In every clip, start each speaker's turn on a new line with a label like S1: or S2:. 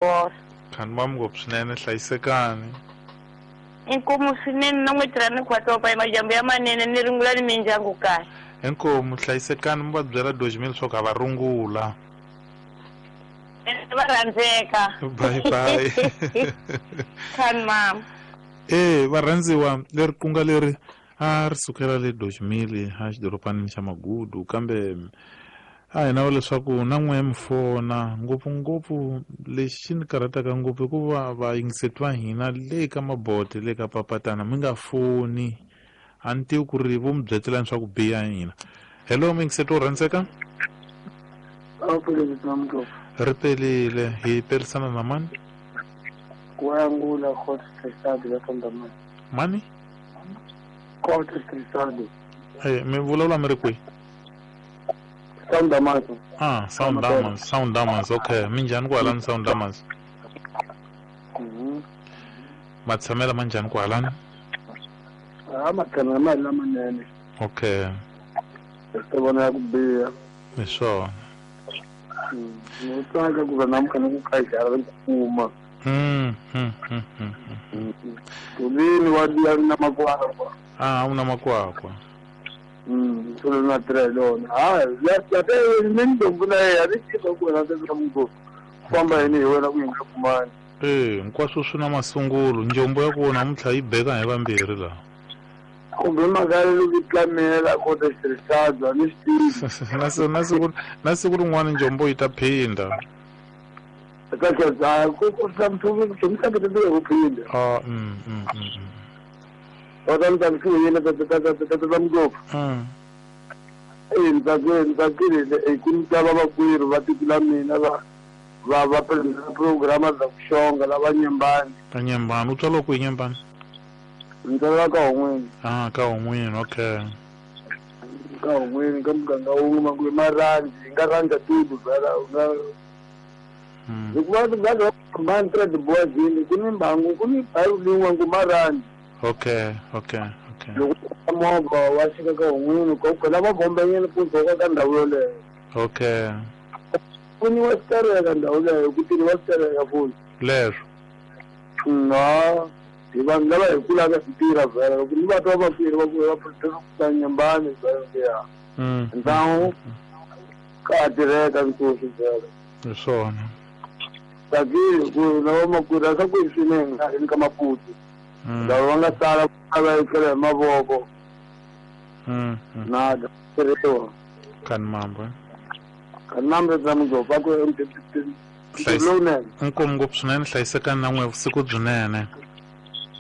S1: Bora.
S2: Khani mam ngopfu swinene hlayisekani.
S1: Inkomu swinene na n'wi tirha ni khwatopa hi majambu ya manene ni rungula ni mindyangu kahle.
S2: Inkomu hlayisekani mi va byela Dojimile leswaku a va rungula.
S1: Va rhandzeka.
S2: Bye bye.
S1: Khani mama.
S2: Eh varhandziwa leri kunga leri a ri sukela le Dojimile a xidoropanini xa Magudu kambe a hi na leswaku na n'we mi fona ngopfungopfu lexi xi ni karhataka ngopfu i ku va vayingiseti va hina le ka mabote le ka papatana mi nga foni a ni tivi ku ri vo mi byetelani swa ku biha hina. Hello muyingiseti wo rhandzeka. Ri pelile hi perisana na mani?
S3: Kuangula Court Trisado la Tondamani.
S2: Mani?
S3: Court Trisado.
S2: Eh, mi vulavula mi ri kwihi?
S3: Sound Damaso.
S2: Ah, Sound Diamonds, Sound Diamonds, okay. Minjhani kwalani Sound Diamonds?
S3: Mhm.
S2: Matshamela manjhani kwalani?
S3: Ah, matshamela ma hi lamanene.
S2: Okay.
S3: Swi vona ya ku biha.
S2: Hi swona.
S3: Ni tsaka ku va namuntlha ni ku khajara ni kuma.
S2: Mm, mm, mm, mm.
S3: Tulini wa liya na makwakwa.
S2: Ah, una makwakwa.
S3: Solo na tirha hi lona. Ha, ya ya te ni ndombu na yena ni tiva ku wena se ku famba yini hi wena ku yi nga kumani.
S2: Eh, hinkwaswo swi na masungulo. Njombo ya ku namuntlha yi beka hi vambirhi laha.
S3: Kumbe mhaka loko yi tlamela kota xitirhisabya ni swi tivi.
S2: Na siku na siku na siku rin'wana njombo yi ta phinda.
S3: Ka ku ku ku ku phinda.
S2: Ah, mm, mm, mm.
S3: Va ta ni tsakisiwile ta ta ta ta ta ngopfu. Eh, ni tsakile ni tsakile eh ku ni twa vamakwerhu va tiko la mina va va va programa za ku xonga lava Nyembani.
S2: Ka Nyembani, u tswariwa kwihi Nyembani?
S3: Ni tswariwa ka Hon'wini.
S2: Ah, ka Hon'wini, okay.
S3: Ka Hon'wini ka muganga wun'we makume marhandzi hi nga rhandza tudu vhela u nga hikuva va va tirha tibuwazini ku ni mbangu ku ni baru lin'we ngu marhandzi.
S2: Okay, okay, okay.
S3: Loko movha wa xika ka Hon'wini ko khona va bombanyana ku dzoka ka ndhawu yoleyo.
S2: Okay.
S3: Pfuniwa switereka ndhawu leyo ku tirhiwa switereka futhi.
S2: Leswo.
S3: Na hi vanhu lava hi kulaka hi tirha vhela loko ni va twa vakweri va ku va producer Nyembani vhela ya. Ndhawu ka tirheka nkosi vhela.
S2: Hi swona.
S3: Tsakile ku na vamakwerhu a swa ku hi swinene nga ri ka Maputo. Lava va nga sala va etlela hi mavoko. Na tirhiwa.
S2: Kani mambo.
S3: Kani mambo ta mugova ku lowunene.
S2: Inkomu ngopfu swinene hlayisekani na n'we vusiku byinene.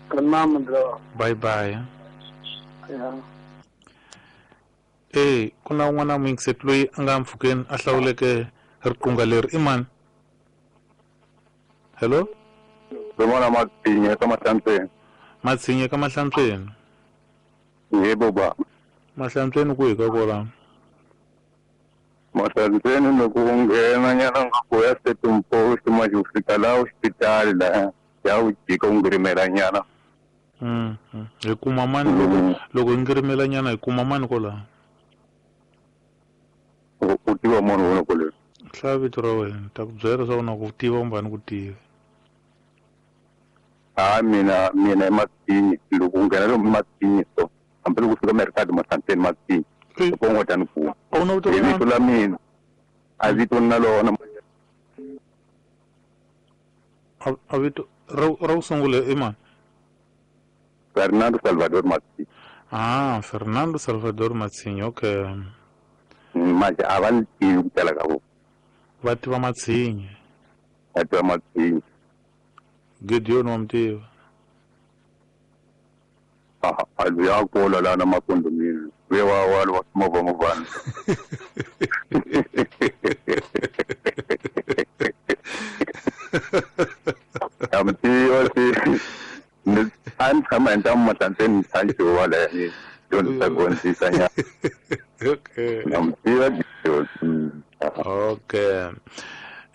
S3: Kani mambo ndra.
S2: Bye bye.
S3: Yeah.
S2: Eh, ku na un'wana muyingiseti loyi a nga mpfhukeni a hlawuleke riqunga leri i mani? Hello?
S4: Rin'wana Matshinye ka Mahlantsweni.
S2: Matshinye ka Mahlantsweni.
S4: Yebo ba.
S2: Mahlantsweni kwihi ka kwalano?
S4: Mahlantsweni loko u nghena nyana nga ku ya Setum Post manje u fika laha hospitali laha ya u jika u ngirimela nyana.
S2: Hi kuma mani loko loko hi ngirimela nyana hi kuma mani kwalaho?
S4: U tiva munhu wena kwale.
S2: Hlaya vito ra wena ni ta ku byela leswaku na ku tiva kumbe a ni ku tivi.
S4: Ha mina mina i Matshinyi loko u nghena lomu Matshinyi so hambi loko u fika Merikadi Mahlantsweni Matshinyi loko u ngo ta ni kuma.
S2: A wu na vito
S4: Hi vito la mina a vito ni na lona.
S2: A vito ra ra ku sungula i mani?
S4: Fernando Salvador Matshinyi.
S2: Ah, Fernando Salvador Matshinyi, okay.
S4: Manje a va ni tivi ku tala ka vona.
S2: Va tiva Matshinyi.
S4: Va tiva Matshinyi.
S2: Gideon wa mi tiva?
S4: A luya a kula laha na makondomini. Luya wa wa wa movha movhana. Ya mi tiva se ni a ni tshama hi ntamu Mahlantsweni ni tshantxiwa laha ni dyondzisa dyondzisa nyana.
S2: Okay.
S4: Na mi tiva Gideon.
S2: Okay.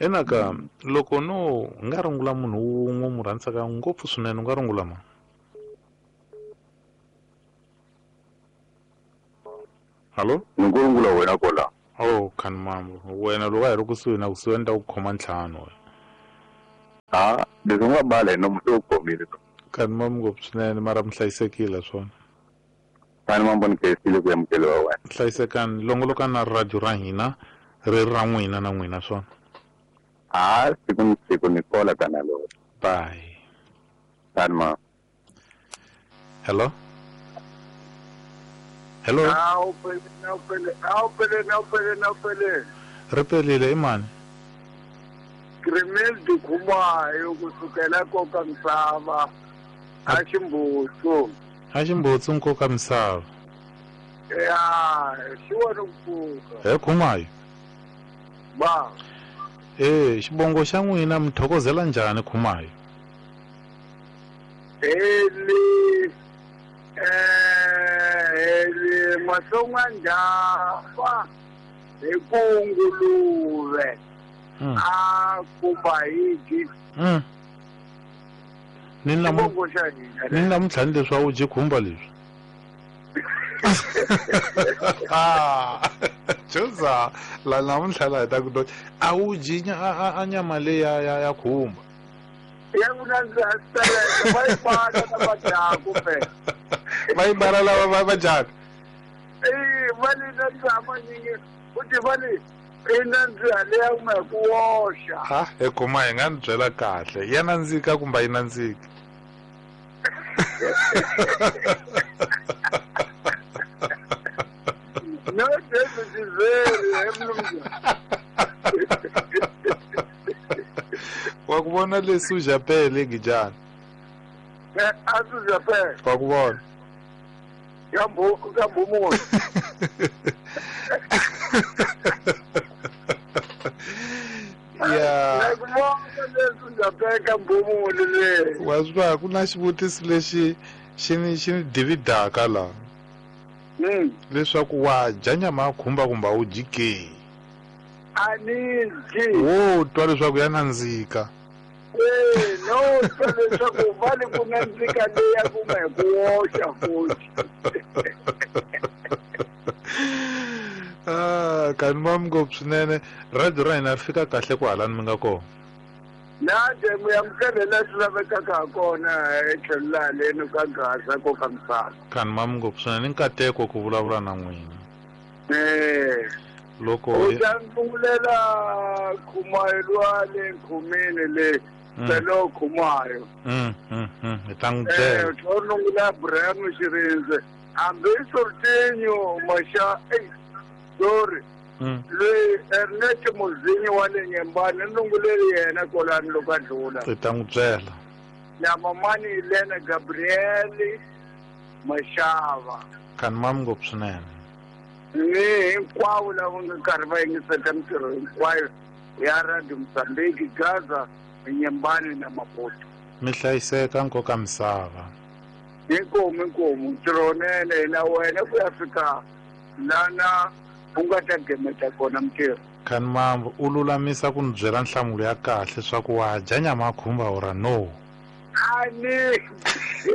S2: Enaka loko no nga rungula munhu wun'we mu rhandzaka ngopfu swinene u nga rungula mani? Hallo?
S4: Ni ngo rungula wena kwala.
S2: Oh, khani mambo. Wena loko a hi ri kusuhi na kusuhi ni ta ku khoma ntlhanu wena.
S4: Ha, leswi nga bala hi nomu se u khomile.
S2: Kani ma ngopfu swinene mara mi hlayisekile swona.
S4: Kani ma mboni khensile ku amukeliwa wena.
S2: Hlayisekani longolokani na radio ra hina ri ra n'wina na n'wina swona.
S4: Ha, siku ni siku ni kola kana lo.
S2: Bye.
S4: Kani ma.
S2: Hello? Hello?
S3: Awupele.
S2: Ri pelile i mani?
S3: Grimel Dukhumayo kusukela koka misava a Ximbutsu.
S2: A Ximbutsu nkoka misava.
S3: Ya, xi wona ku pfuka.
S2: He Khumayo.
S3: Ba.
S2: Xibongo xa n'wina mi thokozela njhani Khumayo?
S3: Eli mahlonga njhafa hi ku nguluve. A kumba hiji.
S2: Ni namuntlha ni leswi a wu dyi khumba leswi. Joza la namuntlha la hi ta ku a wu dyi a nyama leyi ya khumba.
S3: Ya ku nandziha swi va yi bala na va dyaku phela.
S2: Va yi bala lava va dyaka.
S3: Va li nandziha manyingi futhi va li i nandziha leya kuma hi ku woxa.
S2: Ha, he kuma hi nga ni byela kahle. Ya nandzika kumbe a yi nandziki?
S3: No, David is.
S2: Wa ku vona leswi u japele Gijana?
S3: A swi japele.
S2: Wa ku vona.
S3: Ka mbumulo.
S2: Ya.
S3: Ku vona leswi japele ka mbumulo le.
S2: Wa swi vona ku na xivutiso lexi xi ni dividaka la. Leswaku wa dya nyama ya khumba kumbe a wu dyi ke?
S3: A ni dyi.
S2: Wo twa leswaku ya nandzika.
S3: No twa leswaku va li ku nandzika leya kuma hi ku woxa futhi.
S2: Kani ma ngopfu swinene radio ra hina ri fika kahle ku halani mi nga kona.
S3: Na demu ya mukele leswi lavekaka ha kona etlhelo laha leni ka Gaza ko ka misava.
S2: Kani ma ngopfu swinene nkateko ku vulavula na n'wina. Loko
S3: u ta ndungulela Khumayo lwa le Nkhumini le Pelo Khumayo.
S2: Hi ta n'wi byela.
S3: U ndungula Abraham Xirindze hambi Sortinho Masha sorry. Loyi Ernest Muzinyi wa le Nyembani ndunguleli yena kolani loko a dlula.
S2: Hi ta n'wi byela.
S3: Na mamani Elena Gabriel Mashava.
S2: Kani ma ngopfu swinene.
S3: Ni hinkwavo lava nga karhi va yingiseta mintirho hinkwayo ya Radio Mozambique, Gaza, Nyembani na Maputo.
S2: Mi hlayiseka nkoka misava.
S3: Inkomu ntirho wunene na wena ku ya fika lana u nga ta gemeta kona mintirho.
S2: Kani mambo u lulamisa ku ni byela nhlamulo ya kahle swa ku wa dya nyama ya khumba ora no.
S3: A ni.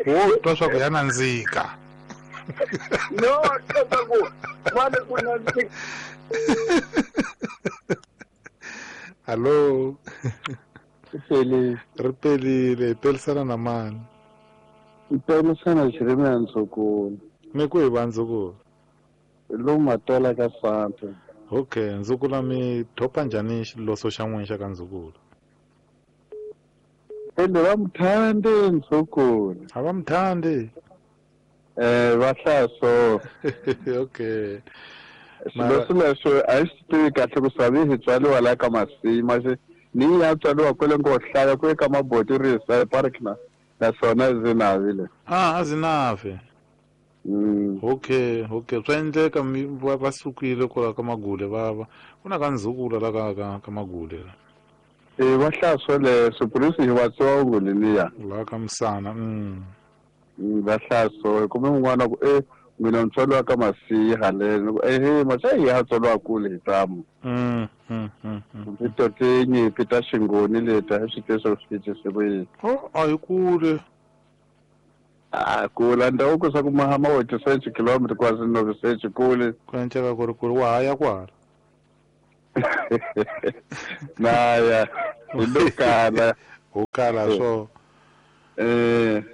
S2: Wo twa swa ku ya nandzika.
S3: No, twa ku va ku nandzika.
S2: Hello.
S5: Ri
S2: pelile, hi pelisana na mani?
S5: Hi pelisana Jeremia Ndzukulu.
S2: Mi ku hi va Ndzukulu?
S5: Lomu Matola ka Santa.
S2: Okay, Ndzukulu mi thopa njhani xiloso xa n'wina xa ka Ndzukulu?
S5: Ende va muthandi Ndzukulu.
S2: A va muthandi?
S5: Va hlaya so.
S2: Okay.
S5: Xiloso lexo a hi swi tivi kahle ku swa vi hi tswariwa la ka Masima ni ya tswariwa kwele ngo hlaya ku eka maboti risa park na naswona Zinavi le.
S2: A Zinavi. Okay. Swa endleka va sukile kwala ka Magule va ku na ka Ndzukulu la ka Magule.
S5: Va hlaya swoleswo polisi hi va tsongo leniya.
S2: La ka Misana.
S5: Va hlaya so kumbe un'wana ku mina ntswalo ka Masiya haleni maxa hi ya tswalo kule hi tamu. Ti tinyimpi ta Xingoni leti a swi tivisa swi tise ku yini.
S2: A hi kule.
S5: A kula ndhawu ku swa ku mahama wa 36 km kwasi 96 kule.
S2: Ku enceka ku ri kule wa ha ya kwala.
S5: Na ya hi lo kala.
S2: Ho kala swo.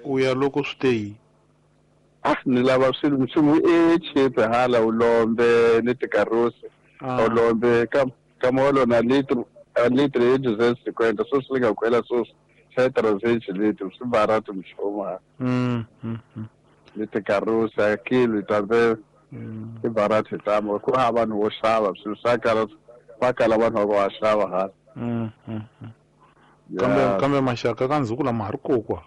S2: U ya loko swi te yi.
S5: Ni lava swilo nchumu e cheap hala ulombe ni tikarosi. Ulombe ka molo na litro a litro e 250 so swi nga kwela so xa 300 litro swi barato mchoma. Ni tikarosi a kilo tambe i barato tamo ku ha vanhu vo xava swilo swa kala va kala vanhu va xava hala.
S2: Kambe maxaka ka ndzhuku lama ha ri kokwa.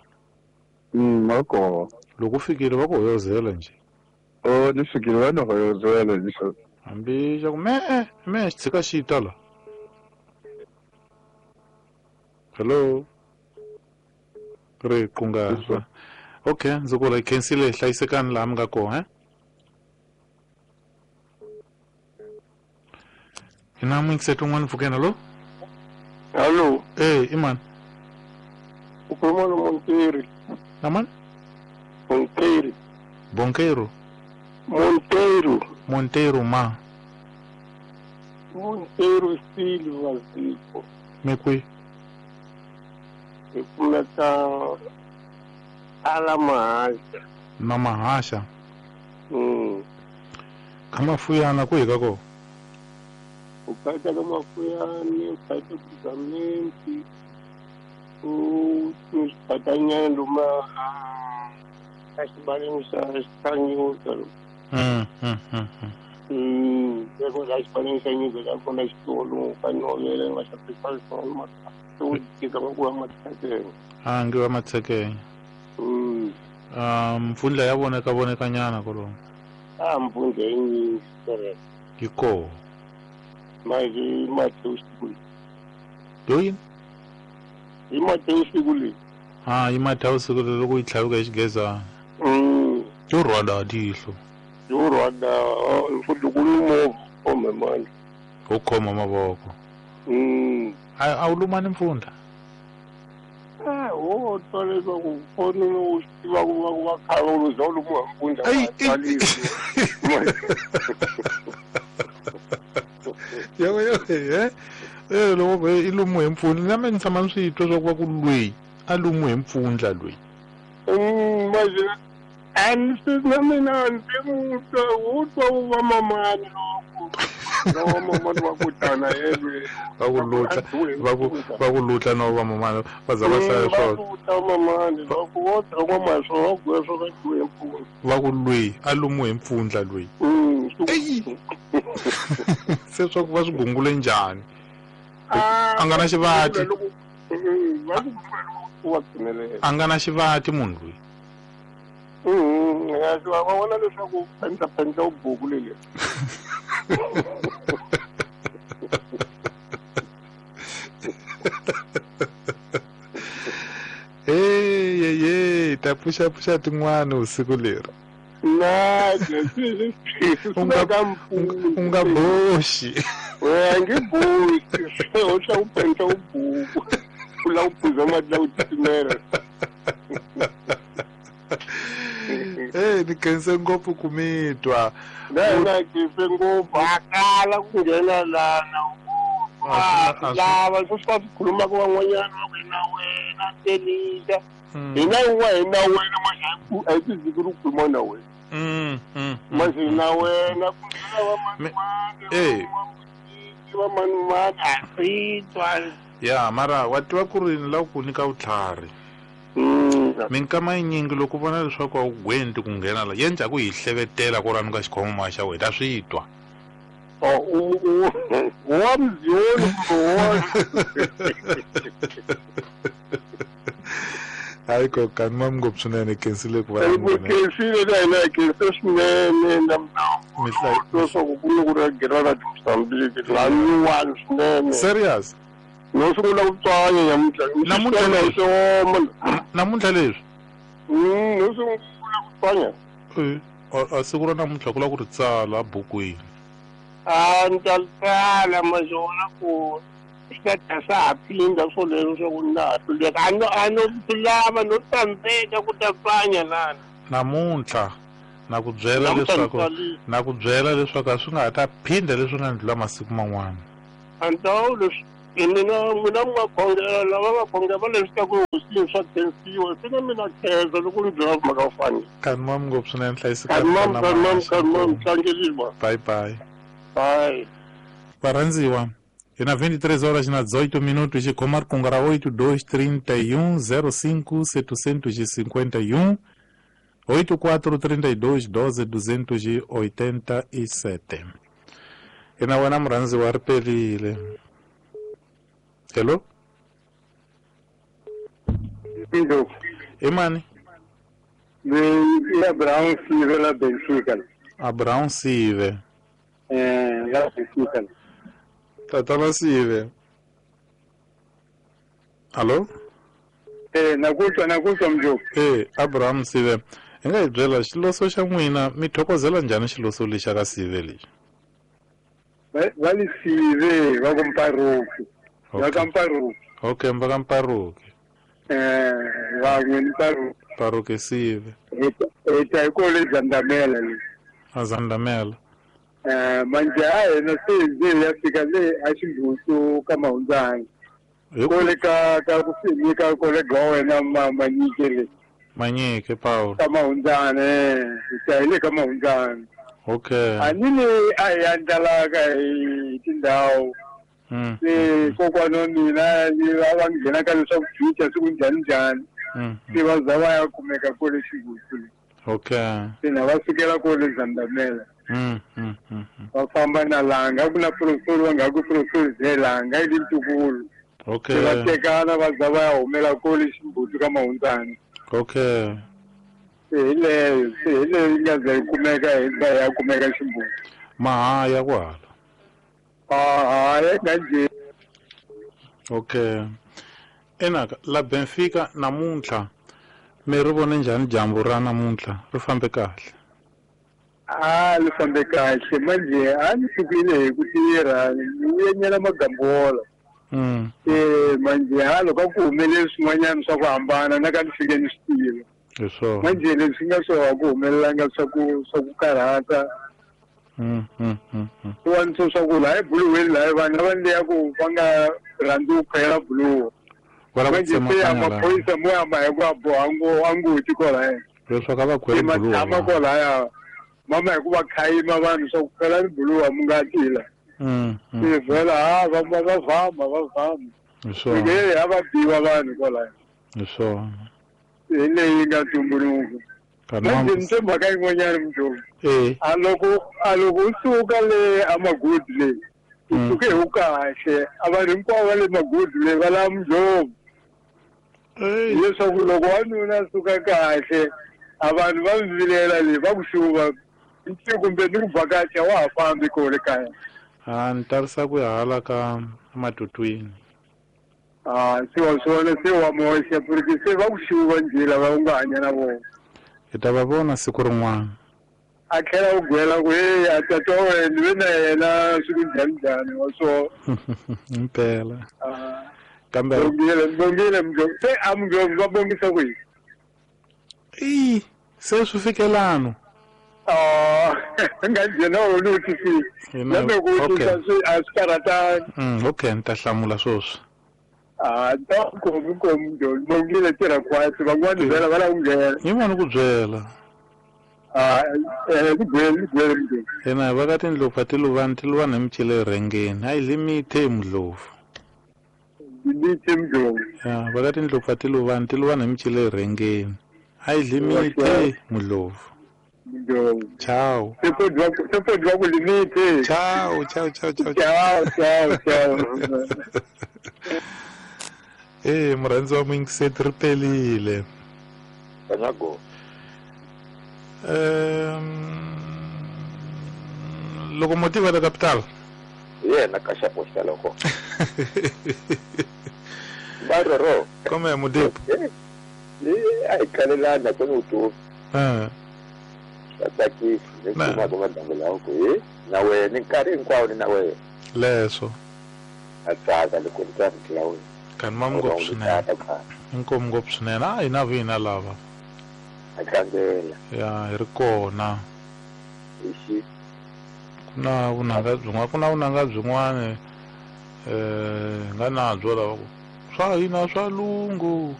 S5: Mako.
S2: Loko fikile va ku hoyozela nje.
S5: Oh, ni fikile va no hoyozela nje.
S2: Hambi xa ku me xi tshika xi ta la. Hello. Ri kunga. Okay, ndzi ku ri khensile hlayisekani laha mi nga kona, Ina mixet un'wana pfukena lo?
S3: Hello.
S2: Iman.
S3: Ukhuluma no Monteiro.
S2: Naman?
S3: Monteiro.
S2: Bonqueiro.
S3: Monteiro.
S2: Monteiro ma.
S3: Monteiro Silva Zico.
S2: Mekwi.
S3: Ikumeka ala mahasha.
S2: Na mahasha. Kama fuyana ku hika ko?
S3: Ukaita kama fuyani, ukaita kugamenti. Patanyana luma xibaleni xa xa nyuka. Loko la xibaleni xa nyuka la kona xitolo ka novela va xa swona u tika va ku va matshekenya.
S2: A ngi va matshekenya. Mpfundla ya voneka vonekanyana kolomo.
S3: A mpfundla yi nyingi correct.
S2: Yi koho.
S3: Manje Mateus siku leyi.
S2: Yo yini?
S3: Hi Mateus siku leyi.
S2: Hi Mateus siku leyi loko yi tlhaveka hi xigezana. Yo rhwala tihlo.
S3: Yo rhwala mfundi ku ni movha khome mani.
S2: Wo khoma mavoko. A wu lumani mpfundla?
S3: Wo twa leswaku foni u swi tiva ku va va khava u za u lumiwa mpfundla.
S2: Yebo loko i lumiwe hi mpfundla na mina ni tshama ni swi twa swa ku va ku lweyi a lumiwe hi mpfundla lweyi.
S3: Manje a ni swi na mina ndzi wu twa wu va mamani loko mamani va ku tana yelwe.
S2: Va ku lutla va ku lutla no va mamani va za va hlaya swona.
S3: Va ku ta mamani loko wo twa va swo va ku swo ka hi mpfundla.
S2: Va ku lweyi a lumiwe hi mpfundla lweyi. Se swa ku va swi gungule njhani? A nga na xivati. A nga na xivati munhu loyi.
S3: Va vona leswaku pendla u buku leli.
S2: Hey, ta pfuxa tin'wana usiku leri.
S3: Na,
S2: u nga boxi.
S3: A nge boxi. U tlha u pendla u buku. U lava ku phuza mati la ku titimela.
S2: Ni khense ngopfu ku mi twa.
S3: Na khense ngopfu. A kala ku nghena lana. Lava swi swi khulumaka van'wanyana va ku na wena telisa. Hina yin'wana hi na wena manje a hi tiziki ri khuluma na wena. Manje na wena ku nghena va manimani va manimani a swi twa.
S2: Ya mara wa tiva ku ri ni lava ku nyika vutlhari. Minkama yinyingi loko u vona leswaku a wu gwenti ku nghena la ya njhaku hi hlevetela ku rani ka xikhoma xa wena ta swi twa.
S3: Wa mziyoni kumbe
S2: Hayi kokani mami ngopfu swinene khensile ku va
S3: khensile na hina hi khense swinene na leswaku ku ni ku ri gira ra Mozambique la nyuwani swinene.
S2: Serious?
S3: No sungula ku tswanya nyamuntlha.
S2: Namuntlha leswi?
S3: No sungula ku tswanya.
S2: A siku ra namuntlha ku lava ku ri tsala bukwini.
S3: A ni ta tsala mazona ku swi ta ta swa ha phinda swoleswo swa ku na ha hluleka. A no swi lava no tsandzeka ku ta tswanya lana.
S2: Namuntlha na ku byela leswaku a swi nga ha ta phinda leswi nga ndlula masiku man'wana.
S3: A ni ta leswi Mina n'wina mi nga khongela lava va khongela va leswi ta ku hosini swa khensiwa se na mina khensa loko ni byela mhaka yo fana.
S2: Kanimam ngopfu swinene hlayiseka.
S3: Kanimam kanimam kanimam tlangeliwa.
S2: Bye bye.
S3: Bye.
S2: Varhandziwa hi na 23 horas na 18 minutos xikhoma riqingho ra 8231 05 751 8432 12 287. Ina wena murhandziwa ri perile. Hello?
S5: Hello.
S2: I mani?
S5: I Abraham Sive la Benfica.
S2: Abraham Sive.
S5: La Benfica.
S2: Tatana Sive. Allo?
S5: Nakutwa mjoko.
S2: Abraham Sive. Hi nga hi byela xiloso xa n'wina mi thokozela njhani xiloso lexa ka Sive lexi?
S5: Va li Sive va ku Mparuki. Va ka Mparuki.
S2: Okay, va ka Mparuki.
S5: Van'we ni Mparuki.
S2: Mparuki Sive.
S5: Hi ta hi kole Zandamela le.
S2: A Zandamela.
S5: Manje a hina se hi ya fika le a Ximbutu ka Mahundzana. Kole ka ku nyika kole ga wena Manyike le.
S2: Manyike Paul.
S5: Ka Mahundzana hi ta hi le ka Mahundzana.
S2: Okay.
S5: A ni le a hi andlalaka hi tindhawu. Se kokwana wa mina va va nghena ka leswaku jucha siku njhani njhani. Se va za va ya kumeka kole Ximbutu le.
S2: Okay.
S5: Se na va sukela kole Zandamela. Va famba na Langa ku na professor va nga ku professor ze Langa i ntukulu.
S2: Okay.
S5: Va tekana va za va ya humela kole Ximbutu ka Mahundzana.
S2: Okay.
S5: Se hi leyo yi nga za yi kumeka hi za ya kumeka Ximbutu.
S2: Mahaya kwala.
S5: Ahaya nga.
S2: Okay. Enaka la Benfica namuntlha mi ri vone njhani dyambu ra namuntlha ri fambe kahle?
S5: A li fambe kahle manje a ni sukile hi ku tirha ni vuyenyela magambola. Manje ha loko a ku humeleli swin'wanyana swa ku hambana na ka ni fike ni swi tiva.
S2: Hi swona.
S5: Manje leswi nga swo a ku humelelanga swa ku karhata. Swin'wana swa ku laha ebuluweni laha vanhu lava ni ya ku va nga rhandzi ku khwela buluwa. Manje se ya maphorisa mo ya ma hi ku a boha anguti kwalaya.
S2: Leswaku a va khweli buluwa.
S5: Tshama kwalaya. Mama hi ku va khayima vanhu swa ku khwela ni buluwa mi nga tila. Se vhela ha va vhama va vhama.
S2: Hi swona.
S5: A va biwa vanhu kwalaya.
S2: Hi swona.
S5: Hi leyi nga tumbuluka. Manje ni twe mhaka yin'wanyana mjoko. A loko u suka le a Magudi le u suke hi wu kahle a vanhu hinkwavo va le Magudi le va lava Mdlovu. Leswaku loko wanuna a suka kahle a vanhu va mi vilela le va ku xuva kumbe ni ku vhakacha wa ha fambi kole kaya.
S2: A ni tarisa ku ya hala ka Matutwini.
S5: Se wa swona se wa moxa porque se va ku xuva njhe lava u nga hanya na vona.
S2: Hi ta va vona siku rin'wana.
S5: A tlhela u gwela ku hey a tata wa wena ni ve na yena siku njhani njhani wa swona.
S2: Impela. Kambe
S5: bongile Mdlovu se a Mdlovu va bongisa kwihi?
S2: I se swi fikelano.
S5: Nga njhena wona u twisisi. Kambe ku twisisa swi a swi karhatanga.
S2: Okay ni ta hlamula sweswi.
S5: Ta komi komi Mdlovu bongile tirha khwatsi van'wana vhela va lava ku nghena.
S2: Yi vona ku byela.
S5: Ku byela Mdlovu.
S2: Ina va ka tindlopfu a ti luvani ti luvani hi micile rhengeni a yi limithe Mdlovu.
S5: Limithe Mdlovu.
S2: Ya va ka tindlopfu a ti luvani ti luvani hi micile rhengeni a yi limithe Mdlovu.
S5: Mdlovu.
S2: Ciao.
S5: Se podi va ku limithe.
S2: Ciao ciao ciao ciao.
S5: Ciao ciao ciao.
S2: Murhandzi wa muyingiseti ri pelile.
S4: Kanyago.
S2: Locomotiva da capital.
S4: Yena ka xapo xa loko. Baroro.
S2: Come è Mudipo?
S4: A hi kalelana ku ni vutomi. Swa tsakisa ni kumaka madyambu lawa ku he na wena nkarhi hinkwawo ni na wena.
S2: Leswo.
S4: A tsaka loko ni twa rito la wena.
S2: Kanimam ngopfu swinene. Inkomu ngopfu swinene. A hina vina lava.
S4: A tlangela.
S2: Ya hi ri kona. Ku na vunanga byin'wana ku na vunanga byin'wana. Nga nabyo lava ku swa hina swa lungu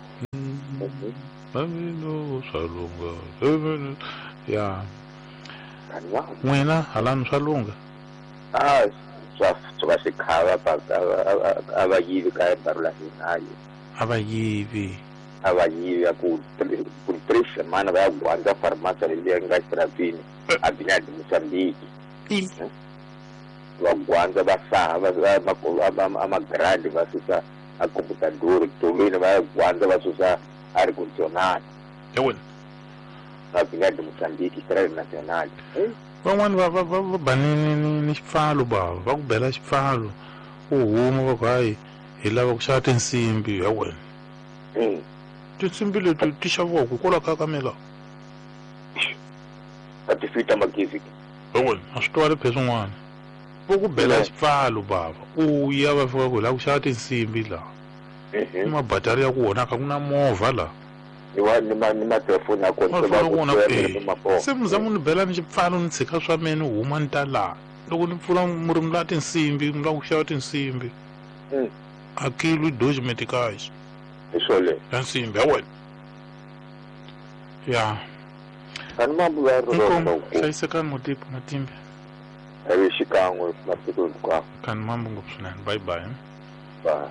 S2: swa lunga ya n'wina halani swa lunga
S4: a swa swa xikhava a va yivi ka barula hina
S2: a va yivi
S4: a va yivi ku 3 semana va ya gwandza farmasi leyi nga xirapini a bina di Mozambique va gwandza va saha va amagrandi va susa a computador tolweni va ya gwandza va susa air conditionado
S2: yawena
S4: a bina di Mozambique Estrada Nacional
S2: van'wani va va ba ni xipfalo bava va ku bela xipfalo u huma va ku hayi hi lava ku xava tinsimbi ya wena tinsimbi leti ti xaviwaka hikwalaho ka mina
S4: a ti fita magezi
S2: ya wena a swi twali phe swin'wana va ku bela xipfalo bava u ya va fika ku hi lava ku xava tinsimbi laha ni mabatari ya ku onhaka ku na movha laha
S4: ni matelefoni ya kona
S2: se muzamu ni bela ni xipfalo ni tshika swa mina ni huma ni ta laha loko ni pfula murimi la tinsimbi mi lava ku xava tinsimbi a kilo 2 meticais
S4: hi swoleswo
S2: ya nsimbi ya wena ya
S4: ani mambo
S2: hlayisekani mutipo matimbe
S4: avi xikan'we masiku hinkwawo
S2: kani mambo ngopfu swinene bye bye
S4: bye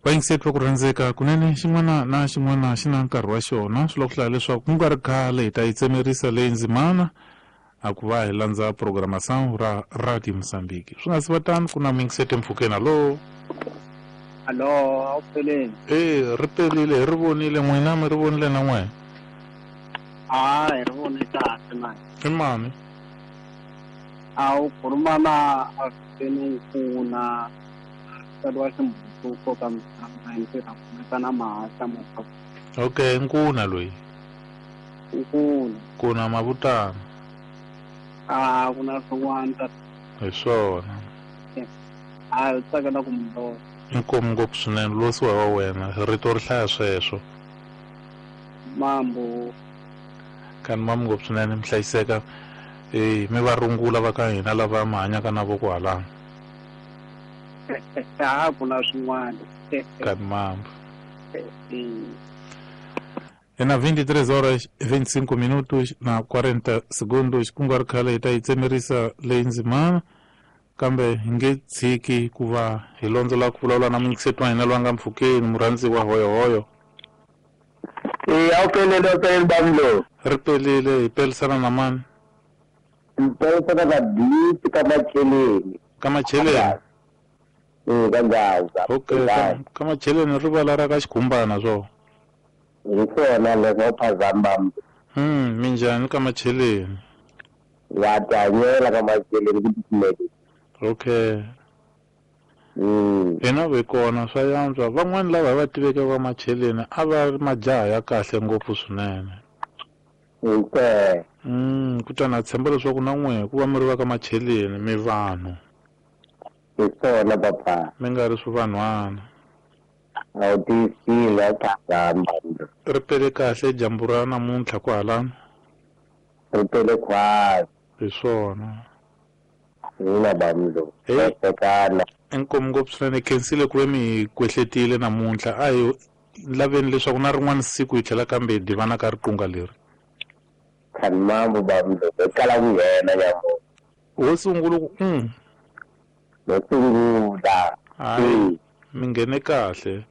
S2: vayingiseti va ku rhandzeka kunene xin'wana na xin'wana xi na nkarhi wa xona swi lava ku hlaya leswaku ku nga ri khale hi ta yi tsemerisa leyi ndzimana a ku va hi landza programação ra Radio Mozambique swi nga si va tano ku na muyingiseti mpfhukeni alo
S6: alo a wu peleni
S2: e ri pelile hi ri vonile n'wina mi ri vonile na n'wena
S6: a hi ri vone kahle mani
S2: i mani
S6: a wu khuluma na Afeni Nkuna tsariwa ximbutuko ka misava hi ntirha kumeka na mahahla mo
S2: okay Nkuna loyi
S6: Nkuna
S2: Nkuna mavutana
S6: a ku na swin'wana ta
S2: hi swona
S6: a hi tsakela ku mi vona
S2: inkomu ngopfu swinene losiwa wa wena rito ri hlaya sweswo
S6: mambo
S2: kani mambo ngopfu swinene mi hlayiseka mi va rungula va ka hina lava mi hanyaka na voko halano
S6: a ku na swin'wana
S2: kani mambo E na 23 horas 25 minutos na 40 segundos ku nga ri khale hi ta yi tsemerisa leyi ndzimana kambe hi nge tshiki ku va hi londzola ku vulavula na muyingiseti wa hina loyi a nga mpfhukeni murhandziwa hoyohoyo
S3: e a wu pelele a pelele bamlo
S2: ri pelile hi pelisana na mani
S3: ni pelisana na Disi ka Macheleni
S2: ka Macheleni
S3: e ka Gaza
S2: okay ka Macheleni rivala ra ka Xikhumbana swo
S3: hi swona leswo phazama
S2: minjhani ka Macheleni
S3: va tihanyela ka Macheleni ku titimele
S2: okay hina ve kona swa yantswa van'wani lava hi va tiveke va Macheleni a va ri majaha ya kahle ngopfu swinene
S3: okay
S2: kutani a tshemba leswaku na n'we ku va mi ri va ka Macheleni mi vanhu
S3: hi swona papa
S2: mi nga ri swivanhwana
S3: a wu tiyisile a wu phazama
S2: ri pele kahle dyambu ra namuntlha kwahalano
S3: ri pele khwasi
S2: hi swona
S3: hina bamlo tekana
S2: inkomu ngopfu swinene khensile ku ve mi hi kwehletile namuntlha a hi laveni leswaku na rin'wana siku hi tlhela kambe hi divana ka riqunga leri
S3: khani mambo bamlo hi kala ku nghena nyamo
S2: wo sungula ku
S3: no sungula
S2: hayi mi nghene kahle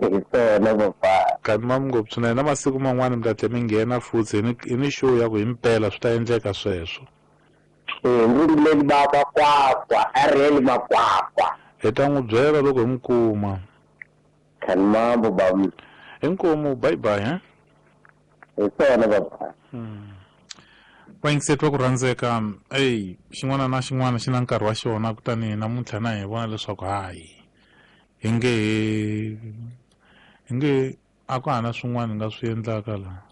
S3: hi swona papa
S2: kani mambo ngopfu swinene na masiku man'wana mi ta tlhela mi nghena futhi hi ni show ya ku himpela swi ta endleka sweswo
S3: ndzi ba makwakwa areli makwakwa
S2: hi ta n'wi byela loko hi n'wi kuma
S3: khani mambo bamlo
S2: inkomu bye bye he
S3: hi swona papa
S2: vayingiseti va ku rhandzeka ey xin'wana na xin'wana xi na nkarhi wa xona kutani namuntlha na hi vona leswaku hayi hi nge a ku hana swin'wana hi nga swi endlaka laha